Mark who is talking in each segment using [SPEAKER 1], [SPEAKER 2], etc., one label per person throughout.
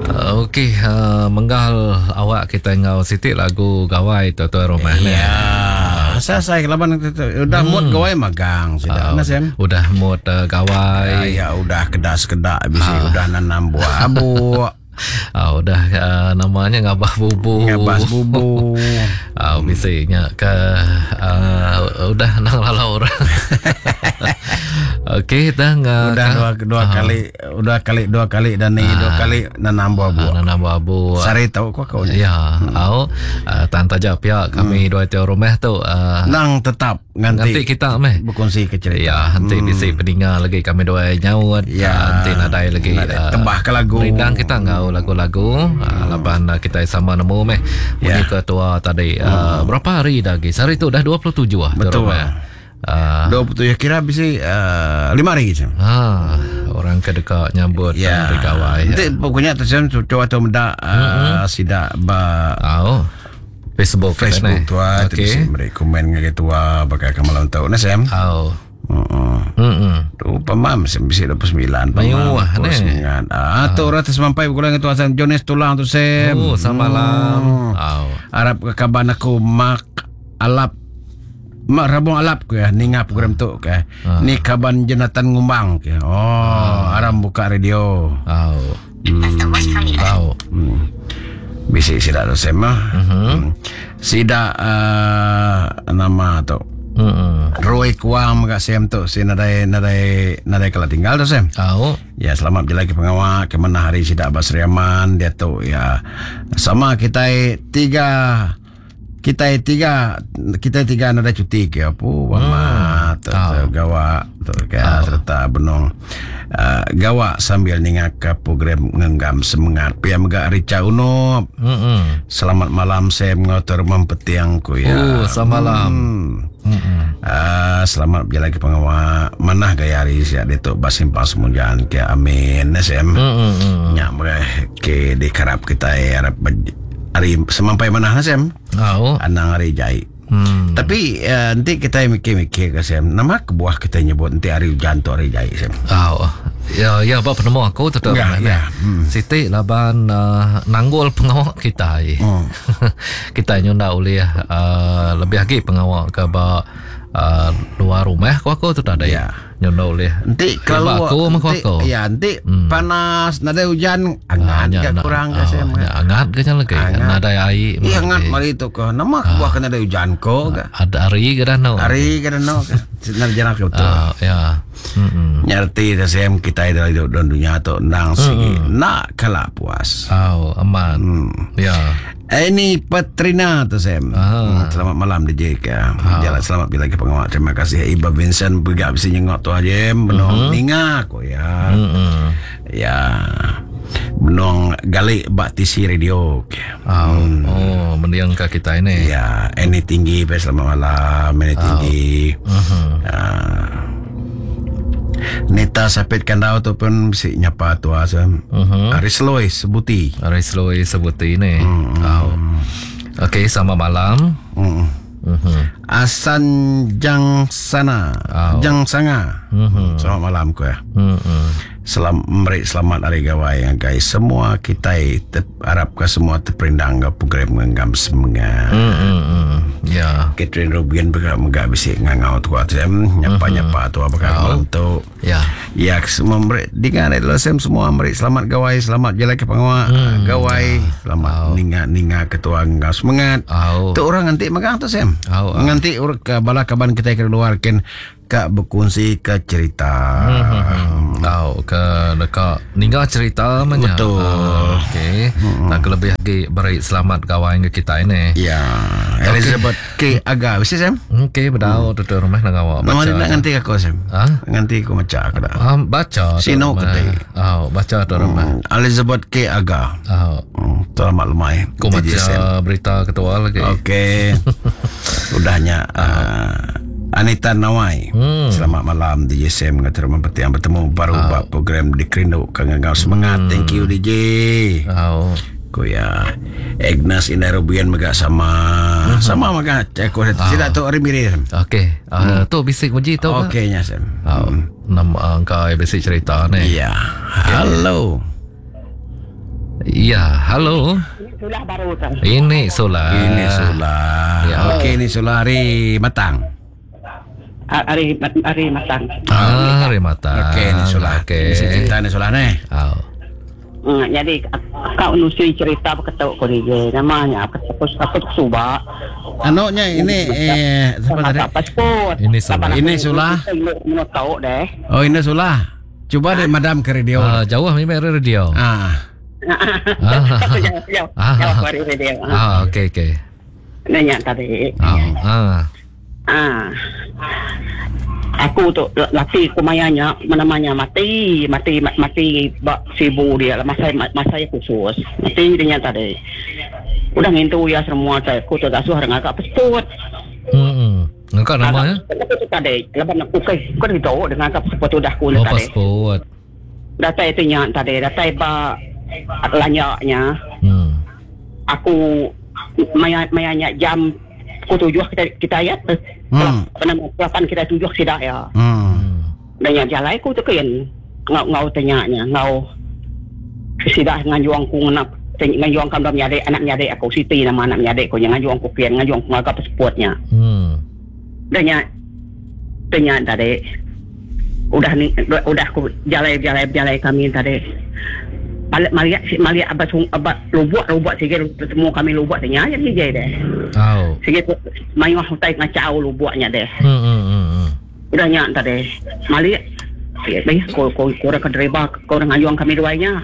[SPEAKER 1] Okey, uh, menggal awak kita enggau siti lagu gawai tu tuan rumah ni.
[SPEAKER 2] Ya. Saya saya laban udah hmm. mood gawai magang sida.
[SPEAKER 1] Uh, Sam. Udah mood uh, gawai.
[SPEAKER 2] Ya, ya udah kedas-kedak bisi uh. udah nanam buah abuk.
[SPEAKER 1] Uh, udah uh, namanya ngabah bubu.
[SPEAKER 2] Ngabah bubu.
[SPEAKER 1] Uh, bisi nya ke uh, udah nang lalau orang. Okey, dah
[SPEAKER 2] udah dua dua uh, kali udah kali dua kali dan ni uh, dua kali nanam buah buah.
[SPEAKER 1] Nanam buah buah.
[SPEAKER 2] Sari tau ko kau
[SPEAKER 1] ni. Ya, hmm. au uh, tan taja pia kami hmm. dua tiap rumah tu
[SPEAKER 2] uh, nang tetap nganti,
[SPEAKER 1] nganti kita meh
[SPEAKER 2] berkongsi ke cerita.
[SPEAKER 1] Ya, nanti hmm. bisi peninga lagi kami dua nyaut.
[SPEAKER 2] Ya,
[SPEAKER 1] nanti nadai lagi
[SPEAKER 2] nadai. Uh, tebah ke lagu.
[SPEAKER 1] Rindang kita ngau lagu-lagu. Hmm. Uh, laban uh, kita sama nemu meh. Munyi ya. ketua tadi. Uh, hmm. Berapa hari dah lagi? Sehari tu dah 27 ah.
[SPEAKER 2] Betul. Uh, 27 kira bisi uh, 5 hari je.
[SPEAKER 1] Ha, orang ke deka nyambut
[SPEAKER 2] ya.
[SPEAKER 1] hari gawai.
[SPEAKER 2] Nanti ya. pokoknya tu saya cuba tu meda uh, mm-hmm. sida ba
[SPEAKER 1] oh. Facebook
[SPEAKER 2] Facebook tua okay. tu beri komen ngagai tua bagai ke malam tu nah Sam.
[SPEAKER 1] Oh.
[SPEAKER 2] Heeh.
[SPEAKER 1] Heeh.
[SPEAKER 2] Tu pemam sem bisi 29
[SPEAKER 1] Mayuh ne.
[SPEAKER 2] Ah tu orang tersemampai berkurang itu Hasan Jones tulang tu Sam.
[SPEAKER 1] Oh, samalam.
[SPEAKER 2] Hmm.
[SPEAKER 1] Oh.
[SPEAKER 2] Arab ke kaban aku mak alap mak rabung alap ke ya ninga program tu ke.
[SPEAKER 1] Ah.
[SPEAKER 2] Ni kaban Jonathan Ngumbang ke. Oh,
[SPEAKER 1] Ah.
[SPEAKER 2] aram buka radio.
[SPEAKER 1] Oh. Oh.
[SPEAKER 2] Hmm. Bisi sida tu Sam ah.
[SPEAKER 1] Mhm.
[SPEAKER 2] Hmm. Sida uh, nama tu.
[SPEAKER 1] Heeh.
[SPEAKER 2] Roy Kuang mega Sam tu si nadai nadai nadai kala tinggal tu Sam.
[SPEAKER 1] Oh.
[SPEAKER 2] Ya selamat berjalan ke pengawak ke mana hari sida Basri Aman dia tu ya sama kita tiga kita tiga kita tiga nadai cuti ke apa hmm. tu, tu gawak tu ke
[SPEAKER 1] Oh.
[SPEAKER 2] serta benong uh, gawak sambil ninga ke program ngenggam semangat pia mega Rica Uno
[SPEAKER 1] Heeh.
[SPEAKER 2] selamat malam Sam ngotor mempetiang ku ya
[SPEAKER 1] Oh, selamat malam.
[SPEAKER 2] Hmm. Ah, selamat berjalan ke pengawak. Manah gaya hari siap dia tu basimpang semujan ke amin SM.
[SPEAKER 1] Heeh.
[SPEAKER 2] Nyak mereh ke dikarap kita harap hari semampai manah SM.
[SPEAKER 1] Oh.
[SPEAKER 2] Anang hari jai.
[SPEAKER 1] Hmm.
[SPEAKER 2] Tapi uh, nanti kita mikir-mikir ke Sam. Nama kebuah kita nyebut nanti hari hujan tu hari jai Sam.
[SPEAKER 1] Oh. Ya, ya ba penemu aku tetap.
[SPEAKER 2] Ya, ya.
[SPEAKER 1] Hmm. Siti laban uh, nanggul pengawak kita.
[SPEAKER 2] Hmm.
[SPEAKER 1] kita nyunda oleh uh, lebih lagi pengawak ke ba uh, luar rumah ku aku tu tak ada.
[SPEAKER 2] Ya.
[SPEAKER 1] Nyunda oleh.
[SPEAKER 2] Nanti
[SPEAKER 1] Ya,
[SPEAKER 2] kalau
[SPEAKER 1] ba aku mah ku
[SPEAKER 2] nanti,
[SPEAKER 1] aku.
[SPEAKER 2] Ya, nanti hmm. panas, nadai hujan, angat
[SPEAKER 1] nya
[SPEAKER 2] ke
[SPEAKER 1] nak-
[SPEAKER 2] kurang ke
[SPEAKER 1] oh,
[SPEAKER 2] Sam.
[SPEAKER 1] nya angat ke nya lagi.
[SPEAKER 2] Angat.
[SPEAKER 1] Nadai air.
[SPEAKER 2] Iya
[SPEAKER 1] mah
[SPEAKER 2] angat
[SPEAKER 1] lagi.
[SPEAKER 2] mari tu ke. Nama kebuah kena ada hujan ko ke.
[SPEAKER 1] Ada hari ke dah no.
[SPEAKER 2] Hari ke no ke. Senar jarak ke betul.
[SPEAKER 1] Ah, ya. Hmm.
[SPEAKER 2] Nyerti TCM kita dalam hidup dalam dunia tu nang sigi nak kalah puas.
[SPEAKER 1] Oh, aman.
[SPEAKER 2] Hmm.
[SPEAKER 1] Ya.
[SPEAKER 2] Ini Petrina tu Sam.
[SPEAKER 1] Ah.
[SPEAKER 2] Hmm, selamat malam DJ ke. Jalan selamat bila ke pengawal. Terima kasih Iba Vincent juga bisa nyengok tu aja benong ninga ko ya.
[SPEAKER 1] Hmm.
[SPEAKER 2] Ya. Benong galik bak TC radio ke.
[SPEAKER 1] Oh, oh, mendiang ke kita ini.
[SPEAKER 2] Ya, ini tinggi pe selamat malam, ini tinggi.
[SPEAKER 1] Mhm.
[SPEAKER 2] Ah. Nita Sapit Kandau tu pun mesti nyapa tu asam.
[SPEAKER 1] Mhm.
[SPEAKER 2] Aris Loy sebuti.
[SPEAKER 1] Aris Loy sebuti ni. Oh. Okey, selamat malam.
[SPEAKER 2] Hmm.
[SPEAKER 1] Mhm.
[SPEAKER 2] Asan Jang Sana,
[SPEAKER 1] Oh.
[SPEAKER 2] Jang Sanga.
[SPEAKER 1] Mhm.
[SPEAKER 2] Selamat malam ku ya.
[SPEAKER 1] Mhm.
[SPEAKER 2] Selam merik selamat hari gawai ya guys. Semua kita te, harap ke semua terperindang ke program ngenggam semangat.
[SPEAKER 1] Mhm. Ya.
[SPEAKER 2] Catherine Rubian bergerak megak bisik ngangau tu asam nyapa-nyapa tu apa malam tu.
[SPEAKER 1] Ya.
[SPEAKER 2] Ya, semua merik dengar adalah Sam semua merik selamat gawai, selamat jalan ke pengawak, gawai, selamat ninga-ninga ketua ngau semangat.
[SPEAKER 1] Au.
[SPEAKER 2] Tu orang nganti magang tu Sam.
[SPEAKER 1] Au, au.
[SPEAKER 2] Nganti orang ke bala kaban kita ke luar ken ka berkongsi ke cerita.
[SPEAKER 1] Hmm. Tahu ke dekat ninggal cerita menya.
[SPEAKER 2] Betul.
[SPEAKER 1] Ah, Okey. Tak lebih lagi beri selamat gawai ke kita ini.
[SPEAKER 2] Ya, Elizabeth K Aga, mesti Sam.
[SPEAKER 1] Okey, bedau tu tu rumah nak awak
[SPEAKER 2] Nama
[SPEAKER 1] baca.
[SPEAKER 2] dia nak nganti aku Sam.
[SPEAKER 1] Ha?
[SPEAKER 2] Nganti aku baca aku dah.
[SPEAKER 1] Ah, baca tu
[SPEAKER 2] Sino
[SPEAKER 1] rumah.
[SPEAKER 2] ketik.
[SPEAKER 1] Ah, baca tu rumah.
[SPEAKER 2] Hmm, Elizabeth K Aga.
[SPEAKER 1] Ah,
[SPEAKER 2] Hmm, selamat lemai.
[SPEAKER 1] aku
[SPEAKER 2] DJ Sam.
[SPEAKER 1] baca berita ketua lagi.
[SPEAKER 2] Okey. Udahnya uh, Anita Nawai.
[SPEAKER 1] Hmm.
[SPEAKER 2] Selamat malam DJ Sam dengan terima yang bertemu baru
[SPEAKER 1] Ah.
[SPEAKER 2] buat program di Kerindu Kang semangat.
[SPEAKER 1] Hmm.
[SPEAKER 2] Thank you DJ.
[SPEAKER 1] Oh.
[SPEAKER 2] Ku ya Agnes Indarubian mega sama.
[SPEAKER 1] Hmm.
[SPEAKER 2] Sama mega aku tidak tu hari miri.
[SPEAKER 1] Okey. Ah, tu bisik uji tu. Kak?
[SPEAKER 2] Okey nya Sam.
[SPEAKER 1] Oh, nama engkau bisik cerita ni.
[SPEAKER 2] Ya. Halo.
[SPEAKER 1] Ya, halo.
[SPEAKER 3] Ini Sulah baru tu.
[SPEAKER 1] Ini Sulah.
[SPEAKER 2] Ini Sulah.
[SPEAKER 1] Ya.
[SPEAKER 2] Okey, ini Sulah hari Matang.
[SPEAKER 3] Hari hari Matang.
[SPEAKER 1] Ah, hari Matang.
[SPEAKER 2] Okey, ini Sulah.
[SPEAKER 1] Okey.
[SPEAKER 2] Ini cerita ni Sulah ni.
[SPEAKER 1] Oh.
[SPEAKER 3] Jadi kau nusui cerita berketuk ko ni namanya aku aku aku suba.
[SPEAKER 2] Anaknya ini eh siapa tadi?
[SPEAKER 3] Pasport.
[SPEAKER 1] Ini Sulah.
[SPEAKER 2] Ini Sulah.
[SPEAKER 3] Ini tahu deh.
[SPEAKER 2] Oh, ini Sulah. Cuba deh madam ke radio.
[SPEAKER 1] Ah, jauh memang dari radio.
[SPEAKER 2] Ah.
[SPEAKER 1] Ah.
[SPEAKER 3] Jauh jauh. Jauh dari radio.
[SPEAKER 1] Ah, okey okey.
[SPEAKER 3] Nanya tadi.
[SPEAKER 1] Ah. Ah.
[SPEAKER 3] Ah. Aku tu laki ku mayanya namanya mati mati mati bak sibu dia lah masa masa khusus mati dia tadi udah ngintu ya semua saya aku tu asuh orang agak pasport.
[SPEAKER 1] Hmm. Engkau namanya?
[SPEAKER 3] Aku tu tadi lepas nak okey kau dah tahu dengan agak pasport tu dah aku
[SPEAKER 1] Oh,
[SPEAKER 3] tadi.
[SPEAKER 1] pasport.
[SPEAKER 3] Datai tu nya tadi datai ba lanyaknya aku maya mayanya jam pukul 7 kita kita ayat apa nama 8 kita 7 sidak ya. Dan yang jalan aku tu kan ngau ngau tanyanya ngau sidak ngajuang ku nak ngajuang kam dalam nyadek anak nyadek aku Siti nama anak nyadek aku yang ngajuang ku kian ngajuang ku ngagak pasportnya. Dan nya tanya tadi udah ni udah aku jalan jalan jalan kami tadi balik maliak si maliak abah sung abah lubuk lubuk sikit semua kami lubuk tanya jadi je deh.
[SPEAKER 1] Oh.
[SPEAKER 3] Sikit mayuh hutai ngacau lubuknya deh. Udah nyak tadi maliak eh ko ko ko orang kedreba ko orang ngajuang kami duanya.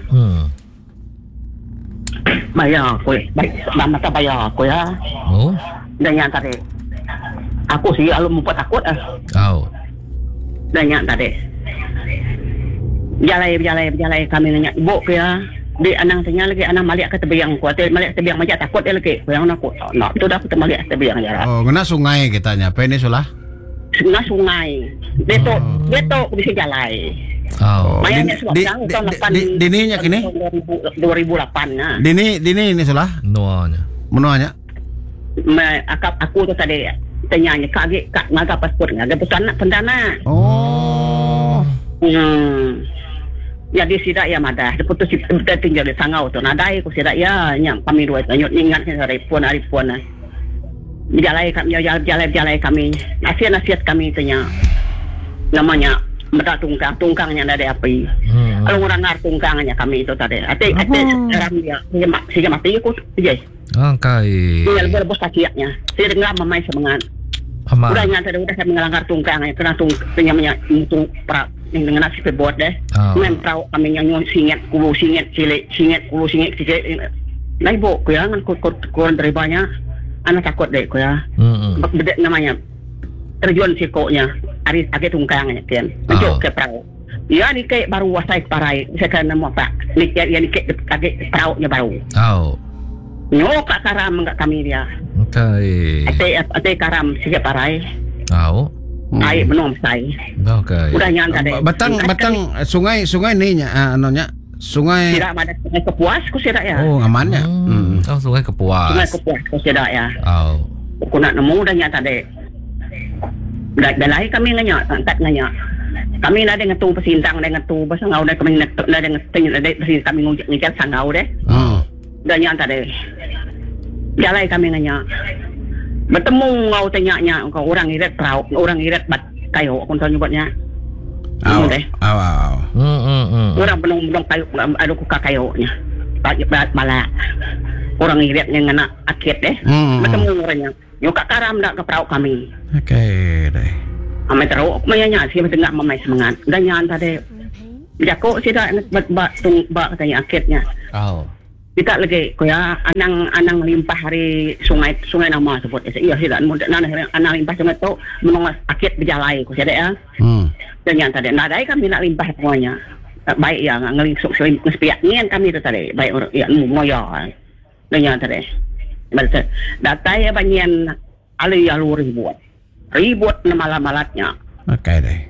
[SPEAKER 3] Bayar ko baik mata bayar ko ya.
[SPEAKER 1] Oh.
[SPEAKER 3] Udah nyak tadi aku sih alu mupat takut ah.
[SPEAKER 1] Oh.
[SPEAKER 3] Udah nyak tadi Jalai jalai jalai kami nanya ibu ke ya. Di anang tanya lagi anang malik ke tebiang ku ate malik tebiang macam takut dia lagi. Yang aku nak tu dah aku malik tebiang jarak.
[SPEAKER 2] Oh, kena sungai kita nya. Apa ini Sulah?
[SPEAKER 3] Sungai sungai. Dia tu dia tu aku bisa jalai.
[SPEAKER 1] Oh.
[SPEAKER 3] Maya
[SPEAKER 2] Di-
[SPEAKER 3] nya sebab
[SPEAKER 2] di-
[SPEAKER 3] tahun
[SPEAKER 2] di-
[SPEAKER 3] tahun 8
[SPEAKER 2] di- dininya kini?
[SPEAKER 3] 2008 nah.
[SPEAKER 2] Dini dini ini Sulah.
[SPEAKER 1] Nuanya.
[SPEAKER 2] Menuanya.
[SPEAKER 3] Ma, akap aku tu tadi tanya nya kak agi kak ngaga pasport ngaga pesan pendana.
[SPEAKER 2] Oh.
[SPEAKER 3] Jadi sidak ya madah. Dia putus dia tinggal di sangau tu. Nadai ku sidak ya nyam kami dua itu ingat hari pun hari pun. Jalai kami jalan jalan jalan kami. Nasihat-nasihat kami tanya. Namanya medak tungkang tungkangnya ada api. Kalau orang ngar tungkangnya kami itu tadi. Ate ate sekarang dia dia mati aku je.
[SPEAKER 1] Angkai.
[SPEAKER 3] Dia lebih lebih kakinya. Saya dengar mamai semangat.
[SPEAKER 1] Aman.
[SPEAKER 3] Udah nyata udah saya mengelanggar tungkangnya kena tung tanya tung pra dengan nasi pebot deh.
[SPEAKER 1] Oh.
[SPEAKER 3] Main perahu kami nyanyi singet kulu singet cilik singet kulu singet cilik. Nah ibu ku ya ngan ku ku deribanya anak takut deh ku ya. Bedek namanya terjun sikoknya ari age tungkangnya kian. Mencuk ke perahu. Ya ni kayak baru wasai parai saya kena nemu apa. Ni ya ni kayak age perahunya baru.
[SPEAKER 1] Oh.
[SPEAKER 3] Nyokak karam enggak kami dia.
[SPEAKER 1] Okey.
[SPEAKER 3] Ate ate karam sikit parai.
[SPEAKER 1] Oh.
[SPEAKER 3] Air benom sai.
[SPEAKER 1] Okey.
[SPEAKER 3] Udah nyang tadi.
[SPEAKER 2] Batang batang sungai sungai ni nya anunya sungai.
[SPEAKER 3] Tidak ada sungai Kepuas ku sidak ya.
[SPEAKER 2] Oh, amannya.
[SPEAKER 1] Oh, sungai Kepuas.
[SPEAKER 3] Sungai Kepuas ku sidak ya.
[SPEAKER 1] Oh.
[SPEAKER 3] Aku nak nemu dah nyang tadi. Dah dah lahir kami nganya, angkat nganya. Kami ada ngetu pesintang, ada ngetu pasal ngau dah kami ngetu, ada ngetu, ada pesintang kami ngujak ngejar sangau deh. Dah nyang tadi. Jalai kami nganya. Bertemu ngau tanya-nya kau orang iret perahu, orang iret bat kayu aku tahu nyebutnya.
[SPEAKER 2] Aw,
[SPEAKER 3] deh.
[SPEAKER 2] aw, aw.
[SPEAKER 3] Orang benung-benung kayu ada kuka kayunya. Bat balak. Orang iretnya ngena akit deh. Bertemu orangnya. Nyuka karam dak ke perahu kami.
[SPEAKER 2] Okey deh.
[SPEAKER 3] Amai teruk mayanya sih tengah mamai semangat. Dan nyan tadi. Jako sih dak bat bat tung bak katanya akitnya.
[SPEAKER 1] Oh.
[SPEAKER 3] Kita lagi koya anang anang limpah hari sungai sungai nama sebut. Iya sih dak anang anang limpah sungai tu menong akit berjalai ko sih ya. Dan yang tadi nadai kami nak limpah semuanya. Baik ya ngelingsuk sepiak nian kami tu tadi baik orang ya moya. Dan yang tadi. Datai ya banyan ali alu ribut. Ribut nama malatnya.
[SPEAKER 2] Okey deh.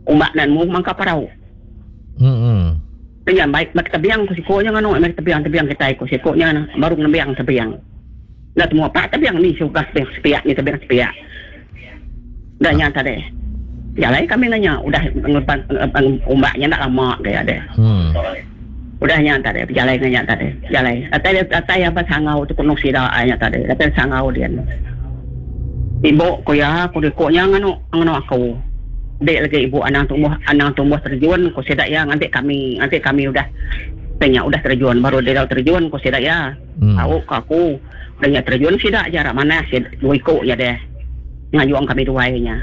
[SPEAKER 3] Umbak nan mu mangka parau. Dengan baik mak tebiang ku sikonya nganu mak tebiang tebiang kita ku sikonya baru nebiang tebiang. Dah semua pak tebiang ni suka tebiang sepiak ni tebiang sepiak. Dah nyata deh. Jalai kami nanya udah ngepan umbaknya nak lama gaya deh. Udah nya tadi bejalai ngah nya tadi. Bejalai. Datai datai iya ba sangau tu penuh sida ai nya tadi. Datai sangau din. Ibu ku iya ku diku nya nganu nganu aku. Dik lagi ibu anang tumbuh anang tumbuh terjun ku sida iya nganti kami nganti kami udah ti nya udah terjun baru deka terjun ku sida iya. Au ku aku. Udah nya terjun sida aja rak manah sida dua iku nya deh. Ngayung kami duai nya.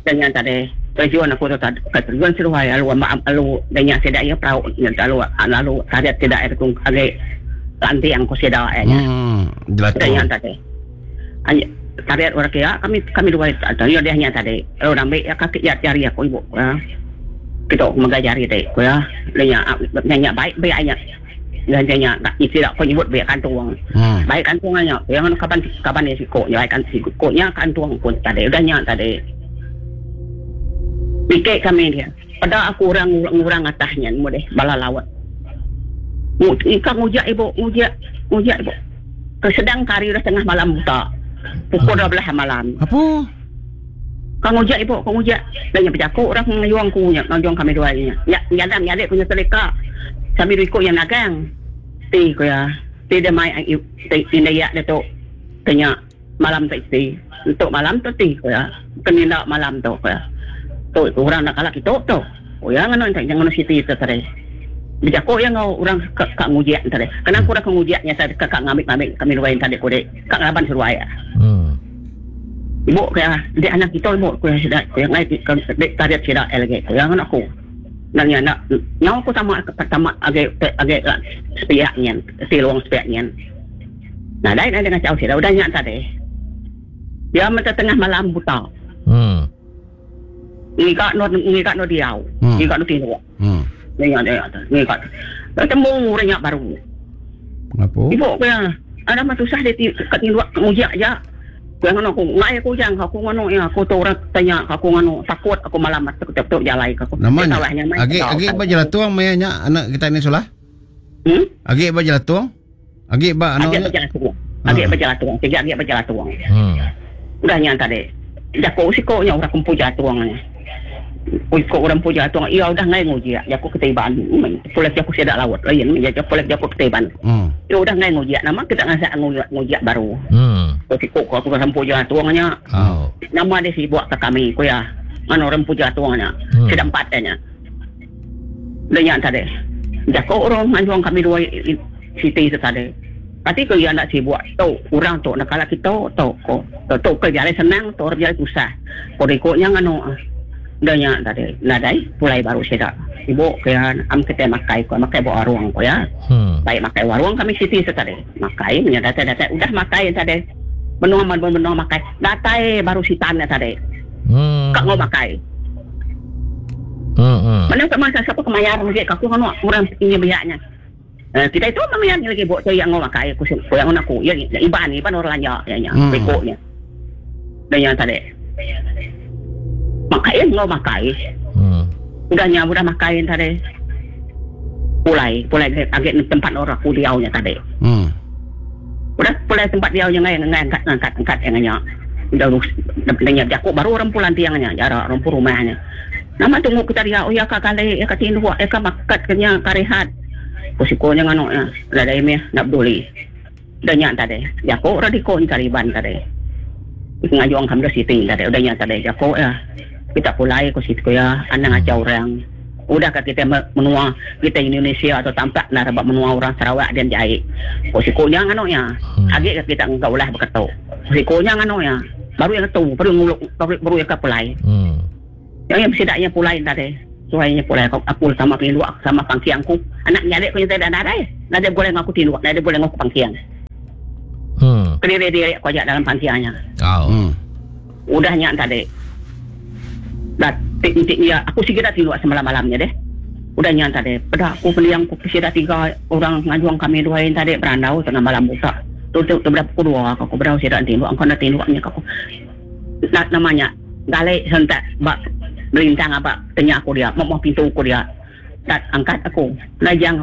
[SPEAKER 3] Udah nya tadi terjun aku tu tadi bukan terjun seduai lalu lalu udah nya sida iya perau lalu lalu tarit sida iya tu agi lanting ku sida iya nya. Udah nya tadi tarit orang kia kami kami duai udah nya tadi lalu ambi iya kaki iya jari aku ibu ku iya. Kitu mega jari ti ku iya. Udah nya udah nya baik biak nya. Ngagai nya sida ko nyebut biak kantung. Hmm. Baik kantung nya yang kaban kaban dia siko nya baik kantung siko nya kantung pun tadi udah nya tadi. Bike kami dia. Peda aku orang ngurang atasnya nemu deh bala laut. Ika ngujak ibu ngujak ngujak ibu. Kesedang kari udah tengah malam buta. Pukul 12 hmm. malam.
[SPEAKER 2] Apa?
[SPEAKER 3] Ka ngujak ibu ka ngujak. Dah nya bejaku orang ngayung ku nya ngayung kami duai nya. Nya nyadang nyadi ku nya seleka. Kami dua iku nya nagang. Ti ku iya. Ti dia mai ti indai iya ditu ke nya malam tu isi. Entu malam tu ti ku iya. Bukan enda malam tu ku iya. Tu orang enda kala kitu tu. Ku iya nganu enti nganu siti tu tadi. Bejaku iya enggau orang ke ka ngujak tadi. Kena ku orang ke ngujak nya tadi ke ka ngambi ngambi kami duai tadi ku dek ka ngelaban seduai. Ibu ku iya, enti anak kita ibu ku iya sida ku iya ngai dek tarit sida iya lagi ku iya ngena aku. Enda nya enda nyau aku tama tama agi agi sepiak nyin silung sepiak nyin. Nadai nadai ngachau sida udah nya tadi. Iya meh tengah malam buta.
[SPEAKER 1] Hmm.
[SPEAKER 3] Ngiga endur ngiga endur diau.
[SPEAKER 2] Hmm.
[SPEAKER 3] Ngiga endur tinduk.
[SPEAKER 2] Hmm.
[SPEAKER 3] Ngiga dia ngiga. Temu orang nya baru.
[SPEAKER 2] Ngapo?
[SPEAKER 3] Ibu ku iya, ada mah tusah dia ti ka tinduk ngujak aja. Ku iya nganu aku, ngai aku ujang aku nganu iya, aku tu orang tanya aku nganu takut aku malam atu tu tu jalai ku aku.
[SPEAKER 2] Nama
[SPEAKER 3] Dia
[SPEAKER 2] nya?
[SPEAKER 3] tawah nyamai
[SPEAKER 2] Agi
[SPEAKER 3] tau
[SPEAKER 2] agi
[SPEAKER 3] utai.
[SPEAKER 2] ba jelatung maya nya anak kita ni sulah?
[SPEAKER 3] Hmm?
[SPEAKER 2] Agi ba jelatung? Agi ba anu
[SPEAKER 3] Agi
[SPEAKER 2] nya?
[SPEAKER 3] ba jelatung. Agi
[SPEAKER 2] Ha.
[SPEAKER 3] ba jelatung. Sigi agi ba jelatung.
[SPEAKER 1] Hmm.
[SPEAKER 3] Udah nya tadi. Jaku siko nya orang empu jelatung nya. Iko orang empu jelatung iya udah ngai ngujik jaku kitai Iban. Pulai jaku sida laut lain meh pulai jaku kitai Iban.
[SPEAKER 2] Hmm.
[SPEAKER 3] Iya udah ngai ngujik nama kita ngasak ngujik ngujik baru.
[SPEAKER 1] Hmm.
[SPEAKER 3] Ko siko ko aku orang empu jelatung nya.
[SPEAKER 1] Oh.
[SPEAKER 3] Nama dia sibuk ke kami ku iya. Nganu orang empu jelatung nya.
[SPEAKER 1] Hmm.
[SPEAKER 3] Sida empat nya. Udah nya tadi. Jaku orang nganjung kami dua siti tu tadi. Kati ko iya enda sibuk tu orang tu enda kala kitu tu ko. Tu tu ke jalai senang tu orang jalai tusah. Ko riko nya nganu. Udah nya tadi nadai pulai baru sida. Sibuk ke iya am kitai makai ko makai ba warung ko iya.
[SPEAKER 1] Hmm.
[SPEAKER 3] Baik makai warung kami siti tu tadi. Makai menya datai datai udah makai tadi. Benung benung makai datai baru sitan nya tadi.
[SPEAKER 1] Hmm.
[SPEAKER 3] Ka enggau makai.
[SPEAKER 1] Hmm. hmm.
[SPEAKER 3] Mana ka masa siapa ke mayar lagi ka aku nganu orang inya biak nya. Eh, kita itu memang yang lagi buat saya yang makai aku aku yang aku ya iban iban orang lanja ya nya
[SPEAKER 2] Hmm.
[SPEAKER 3] beko nya. Dan yang tadi. Makai enggau makai.
[SPEAKER 1] Hmm.
[SPEAKER 3] Udah nya udah makai tadi. Pulai, pulai agi tempat orang aku diau nya tadi.
[SPEAKER 2] Hmm.
[SPEAKER 3] Udah pulai tempat diau nya ngai ngai angkat angkat angkat yang nya. Udah udah nya jaku baru orang pulang tiang nya jarak orang pu rumah nya. Nama tunggu kita diau ya ka kali ya ka tinduk ya ka makat ke nya ka rehat. Ko siko nya nganu nya nadai mih enda peduli. Udah nya tadi jaku ra diko nya Iban tadi. Ngajung kami da siti tadi udah nya tadi jaku iya kita pulai ko siti ko iya anang ajar orang. Udah ka kita menua kita Indonesia tu tampak enda ba menua orang Sarawak dian jai. Ko siko nya nganu iya. Agi ka kita ngaga ulah baka tu. Ko siko nya nganu iya. Baru iya ngetu baru ngulu baru iya ka pulai.
[SPEAKER 1] Hmm.
[SPEAKER 3] Yang iya sida iya pulai enda deh. Suai iya pulai aku aku sama tinduk sama pangking aku. Anak menyadi ku nyata nadai. Nadai begulai enggau aku tinduk, nadai begulai enggau aku pangking.
[SPEAKER 1] Hmm.
[SPEAKER 3] Kediri-diri aku aja dalam pangking nya.
[SPEAKER 1] Oh.
[SPEAKER 2] Hmm.
[SPEAKER 3] Udah nya tadi. Dah ti ti iya aku sigi dah tinduk semalam-malam nya deh. Udah nya tadi peda aku pendiang ku sida tiga orang ngajung kami dua tadi berandau tengah malam buta. Tu tu tu beda pukul dua aku bedau sida tinduk engkau enda tinduk nya aku. Nama nya gali sentak ba melintang aba tenya aku dia moh pintu ku dia. Dat angkat aku. Lajang.